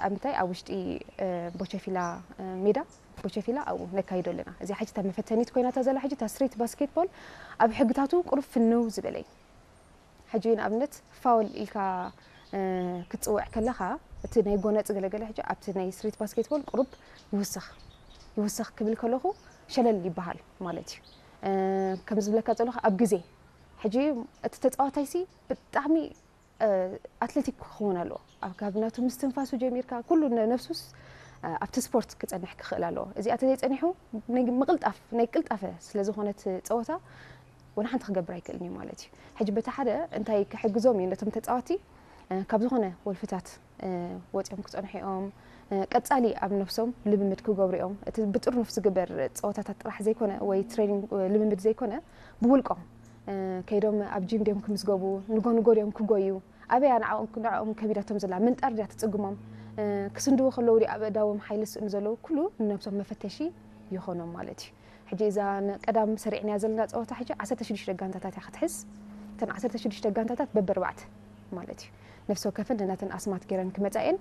ኣብ ምንታይ ኣብ ውሽጢ ቦቸፊላ ሜዳ ቦቸፊላ ኣብኡ ነካይዶ ኣለና። እዚኣ ሕጂ እታ መፈተኒት ኮይና እታ ዘላ ሕጂ እታ ስትሪት ባስኬትቦል ኣብ ሕግታቱ ቁሩብ ፍንው ዝበለ እዩ። ሕጂ ንኣብነት ፋውል ኢልካ ክትፅውዕ ከለኻ እቲ ናይ ጎነፂ ገለገለ ሕጂ ኣብቲ ናይ ስትሪት ባስኬትቦል ቁሩብ ይውስኽ ይውስኽ ክብል ከለኹ ሸለል ይበሃል ማለት እዩ። ከም ዝብለካ ዘለኹ ኣብ ግዜ ሕጂ እቲ ተፃዋታይ ሲ ብጣዕሚ ኣትሌቲክ ክኸውን ኣለዎ። ኣብ ካብ ናቱ ምስትንፋሱ ጀሚርካ ኩሉ ነፍሱስ ኣብቲ ስፖርት ክፀንሕ ክኽእል ኣለዎ። እዚኣ ተዘይፀኒሑ ምቕልጣፍ ናይ ቅልጣፈ ስለ ዝኾነት ፀወታ ወላ ሓንቲ ክገብር ኣይክእልን እዩ ማለት እዩ። ሕጂ በቲ ሓደ እንታይ ክሕግዞም እዩ ነቶም ተፃወቲ ካብ ዝኾነ ወልፍታት ወፂኦም ክፀንሑ እዮም። ቀፃሊ ኣብ ነፍሶም ልምምድ ክገብሩ እዮም። እቲ ብጥርኑፍ ዝግበር ፀወታታት ጥራሕ ዘይኮነ ወይ ትሬኒንግ ልምምድ ዘይኮነ ብውልቆም ከይዶም ኣብ ጂም ድዮም ክምዝገቡ ንጎ ንጎ ድዮም ክጎዩ ኣበያ ንዕኦም ንዕኦም ከቢዳቶም ዘላ ምንጣር ድያ ትፅግሞም ክስንድቡ ከለዉ ድዩ ኣብ እዳዎም ሓይሊ ዝስእኑ ዘለዉ ኩሉ ንነብሶም መፈተሺ ይኾኖም ማለት እዩ። ሕጂ እዛ ቀዳም ሰሪዕናያ ዘለና ፀወታ ሕጂ ዓሰርተ ሽዱሽተ ጋንታታት እያ ክትሕዝ። እተን ዓሰርተ ሽዱሽተ ጋንታታት በበርባዕተ ማለት እዩ። ነፍሲ ወከፈን ነናተን ኣስማት ገይረን ክመፃ እየን።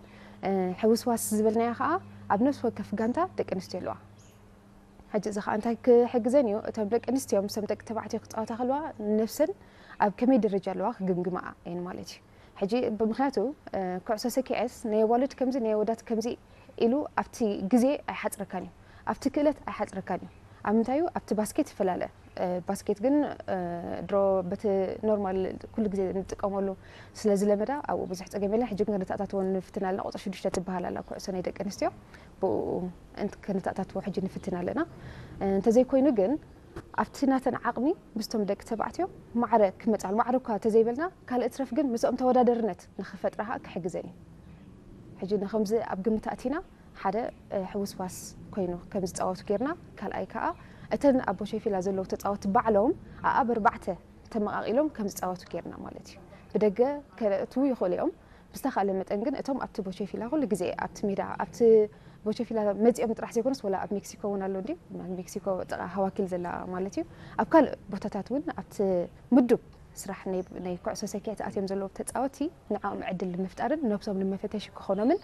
ሕውስዋስ ዝበልናያ ከዓ ኣብ ነፍሲ ወከፍ ጋንታ ደቂ ኣንስትዮ ኣለዋ። ሕጂ እዚ ከዓ እንታይ ክሕግዘን እዩ? እቶም ደቂ ኣንስትዮ ምስቶም ደቂ ተባዕትዮ ክፃወታ ከለዋ ነፍሰን ኣብ ከመይ ደረጃ ኣለዋ ክግምግማኣ እየን ማለት እዩ። ሕጂ ብምክንያቱ ኩዕሶ ሰኪዐስ ናይ ኣዋልድ ከምዚ ናይ ኣወዳት ከምዚ ኢሉ ኣብቲ ግዜ ኣይሓፅረካን እዩ፣ ኣብቲ ክእለት ኣይሓፅረካን እዩ። ኣብ ምንታይ እዩ ኣብቲ ባስኬት ይፈላለ። ባስኬት ግን ድሮ በቲ ኖርማል ኩሉ ግዜ ንጥቀመሉ ስለ ዝለመዳ ኣብኡ ብዙሕ ፀገም የለን። ሕጂ ግን ከነተኣታትዎ ንፍትን ኣለና። ቁፅሪ ሽዱሽተ ትበሃል ኣላ ኩዕሶ ናይ ደቂ ኣንስትዮ ብኡ ከነተኣታትዎ ሕጂ ንፍትን ኣለና። እንተዘይኮይኑ ግን ኣብቲ ናተን ዓቕሚ ምስቶም ደቂ ተባዕትዮ ማዕረ ክመፃሉ ማዕረ እኳ ተዘይበልና ካልእ ትረፍ ግን ምስኦም ተወዳደርነት ንክፈጥራ ከዓ ክሕግዘን እዩ። ሕጂ ንከምዚ ኣብ ግምት ኣእቲና ሓደ ሕውስዋስ ኮይኑ ከም ዝፃወቱ ጌርና ካልኣይ ከዓ እተን ኣብ ቦሸፊላ ዘለዉ ተፃወቲ ባዕሎም ኣኣብ ኣርባዕተ ተመቓቒሎም ከም ዝፃወቱ ጌርና ማለት እዩ። ብደገ ከእትዉ ይኽእሉ እዮም። ብዝተኻእለ መጠን ግን እቶም ኣብቲ ቦቸፊላ ኩሉ ግዜ ኣብቲ ሜዳ ኣብቲ ቦቸፊላ መፂኦም ጥራሕ ዘይኮነስ ወላ ኣብ ሜክሲኮ እውን ኣሎ እንዲ ሜክሲኮ ጥቓ ሃዋኪል ዘላ ማለት እዩ። ኣብ ካልእ ቦታታት እውን ኣብቲ ምዱብ ስራሕ ናይ ኩዕሶ ሰኪዐት ኣትዮም ዘለዉ ተፃወቲ ንዕኦም ዕድል ንምፍጣርን ነብሶም ንመፈተሺ ክኾኖምን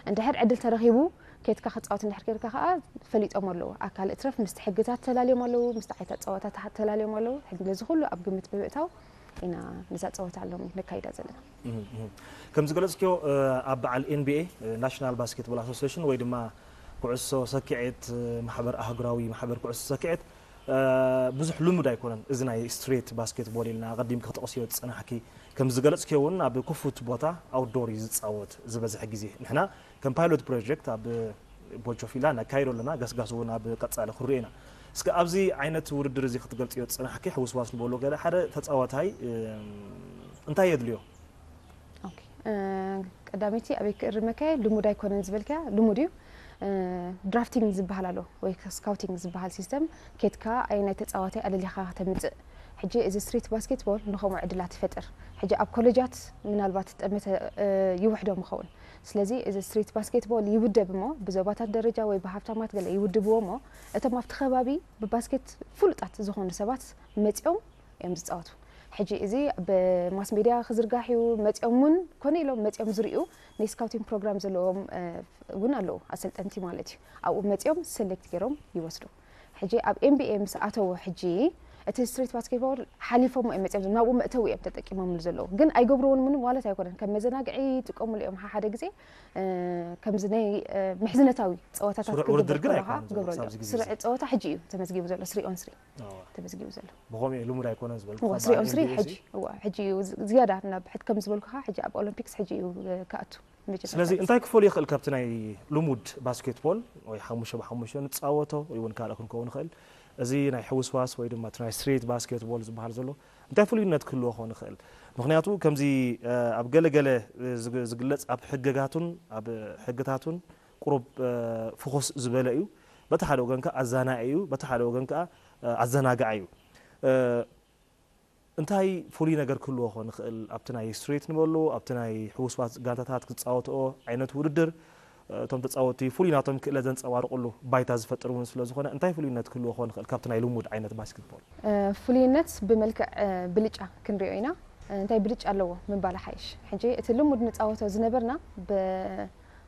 እንድሕር ዕድል ተረኺቡ ከይድካ ክፃወት እንድሕር ከይድካ ከዓ ፈሊጦም ኣለዉ። ኣካል እትረፍ ምስቲ ሕግታት ተላልዮም ኣለዉ፣ ምስቲ ዓይታት ፀዋታታት ተላልዮም ኣለዉ። ሕጂ ነዚ ኩሉ ኣብ ግምት ብምእታው ኢና ነዛ ፀወታ ሎም ነካይዳ ዘለና። ከም ዝገለፅክዮ ኣብ በዓል ኤንቢኤ ናሽናል ባስኬትቦል ኣሶሲሽን ወይ ድማ ኩዕሶ ሰኪዔት ማሕበር ኣህጉራዊ ማሕበር ኩዕሶ ሰኪዔት ብዙሕ ልሙድ ኣይኮነን። እዚ ናይ ስትሬት ባስኬትቦል ኢልና ኣቐዲምኪ ክጠቕስዮ ዝፀናሕኪ ከም ዝገለፅክዮ እውን ኣብ ክፉት ቦታ ኣውትዶር እዩ ዝፃወት ዝበዝሐ ግዜ። ንሕና ከም ፓይሎት ፕሮጀክት ኣብ ቦጆፊላ ነካይዶ ኣለና። ገስጋስ እውን ኣብ ቀፃሊ ክንሪኦ ኢና። እስከ ኣብዚ ዓይነት ውድድር እዚ ክትገልፅዮ ዝፀናሕኪ ሕውስዋስ ንበሎ ገለ ሓደ ተፃዋታይ እንታይ የድልዮ? ቀዳመይቲ ኣበይ ክእርመካ ልሙድ ኣይኮነን ዝበልካ ልሙድ እዩ። ድራፍቲንግ ዝበሃል ኣሎ ወይ ስካውቲንግ ዝበሃል ሲስተም ኬትካ ኣይ ናይ ተፃዋታይ ኣለሊኻ ከተምፅእ። ሕጂ እዚ ስትሪት ባስኬትቦል ንኸምኡ ዕድላት ይፈጥር። ሕጂ ኣብ ኮሌጃት ምናልባት ጠመተ ይውሕዶም ይኸውን። ስለዚ እዚ ስትሪት ባስኬትቦል ይውደብ እሞ ብዞባታት ደረጃ ወይ ብሃብታማት ገለ ይውድብዎ እሞ እቶም ኣብቲ ከባቢ ብባስኬት ፍሉጣት ዝኾኑ ሰባት መፂኦም እዮም ዝፃወቱ። ሕጂ እዚ ብማስ ሜድያ ክዝርጋሕ እዩ። መፂኦም እውን ኮነ ኢሎም መፂኦም ዝርእዩ ናይ ስካውቲንግ ፕሮግራም ዘለዎም እውን ኣለዉ ኣሰልጠንቲ ማለት እዩ። ኣብኡ መፂኦም ሰሌክት ገይሮም ይወስዱ። ሕጂ ኣብ ኤንቢኤ ምስ ኣተዉ ሕጂ እቲ ስትሪት ባስኬትቦል ሓሊፎም እዮም መፂኦም ናብኡ መእተዊ እዮም ተጠቂሞምሉ ዘለዉ። ግን ኣይገብርዎን ምንም ማለት ኣይኮነን። ከም መዘናግዒ ይጥቀሙሉ እዮም ሓደ ግዜ ከምዚ ናይ ምሕዝነታዊ ፀወታታት ክገብር ከለካ ክገብረሉ። ስርዒ ፀወታ ሕጂ እዩ ተመዝጊቡ ዘሎ ስሪ ኦን ስሪ ተመዝጊቡ ዘሎ። ብኸምኡ እዩ ልሙድ ኣይኮነን ዝበልኩ። እዋ ስሪ ኦን ስሪ ሕጂ እዋ ሕጂ እዩ ዝያዳ ናብ ሕድ ከም ዝበልኩኻ ሕጂ ኣብ ኦሎምፒክስ ሕጂ እዩ ክኣቱ። ስለዚ እንታይ ክፈሉ ይኽእል ካብቲ ናይ ልሙድ ባስኬትቦል ወይ ሓሙሽተ ብሓሙሽተ ንፃወቶ ወይ እውን ካልእ ክንከውን ይኽእል። እዚ ናይ ሕውስዋስ ወይ ድማ እቲ ናይ ስትሪት ባስኬትቦል ዝበሃል ዘሎ እንታይ ፍሉይነት ክህልዎ ክኾን ይኽእል? ምኽንያቱ ከምዚ ኣብ ገለገለ ዝግለፅ ኣብ ሕግጋቱን ኣብ ሕግታቱን ቁሩብ ፍኹስ ዝበለ እዩ። በቲ ሓደ ወገን ከዓ ኣዛናኢ እዩ፣ በቲ ሓደ ወገን ከዓ ኣዘናጋዒ እዩ። እንታይ ፍሉይ ነገር ክህልዎ ክኾን ይኽእል ኣብቲ ናይ ስትሪት ንበሉ ኣብቲ ናይ ሕውስዋስ ጋንታታት ክፃወትኦ ዓይነት ውድድር እቶም ተፃወቲ ፍሉይ ናቶም ክእለት ዘንፀባርቕሉ ባይታ ዝፈጥር እውን ስለ ዝኾነ እንታይ ፍሉይነት ክህልዎ ክኾን ይኽእል ካብቲ ናይ ልሙድ ዓይነት ባስኬትቦል? ፍሉይነት ብመልክዕ ብልጫ ክንሪኦ ኢና። እንታይ ብልጫ ኣለዎ ምባል ሓይሽ። ሕጂ እቲ ልሙድ ንፃወቶ ዝነበርና ብ